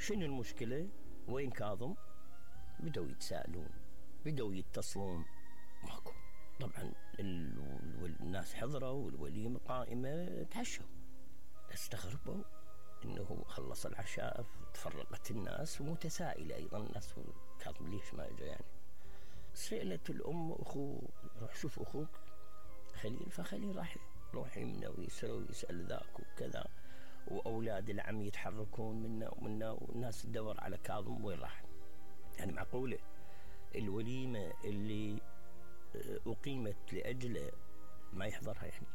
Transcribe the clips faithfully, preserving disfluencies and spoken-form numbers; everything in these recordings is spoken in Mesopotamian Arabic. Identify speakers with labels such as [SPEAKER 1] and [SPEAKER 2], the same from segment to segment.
[SPEAKER 1] شنو المشكلة؟ وين كاظم؟ بدوا يتساءلون، بدوا يتصلون، ماكو. طبعا الناس حضروا والوليمة قائمة، تعشوا. استغربوا انه خلص العشاء تفرقت الناس ومتسائلة ايضا الناس، كاظم ليش ما اجى يعني. سألت الام اخوه روح شوف اخوك خليل، فخليل راح روح يمنا ويسرى ويسأل ذاك وكذا، واولاد العم يتحركون منا ومنا، والناس تدور على كاظم وين راح. يعني معقولة الوليمة اللي أقيمت لأجله ما يحضرها يعني؟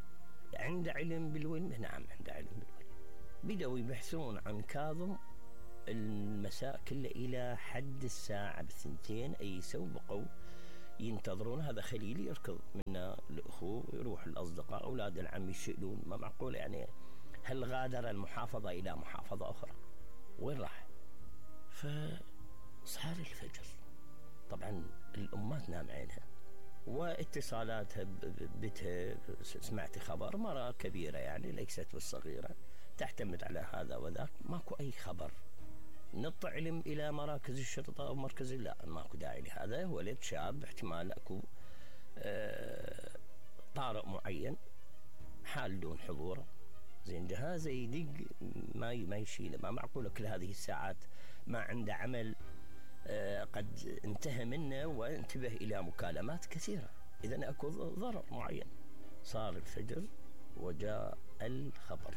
[SPEAKER 1] عنده علم بالوليمة؟ نعم عنده علم بالوليمة. بدأوا يبحثون عن كاظم المساء كله إلى حد الساعة بالثنتين، أي سو بقوا ينتظرون. هذا خليل يركض منا لأخوه، يروح الأصدقاء أولاد العم يسألون، ما معقول يعني. هل غادر المحافظة إلى محافظة أخرى؟ وين راح؟ فصار الفجر، طبعا الأمات نام عينها واتصالاتها ببيتها. سمعت خبر مرة كبيرة يعني ليست بالصغيرة تعتمد على هذا وذاك، ماكو أي خبر. نط علم إلى مراكز الشرطة أو مركز، لا ماكو داعي لهذا. ولد شاب احتمال أكو آه طارئ معين حال دون حضوره، زين جهازه يدق ما ما يشيله. ما معقولة كل هذه الساعات ما عنده عمل آه قد انتهى منه وانتبه إلى مكالمات كثيرة، إذن أكو ضرر معين. صار الفجر وجاء الخبر.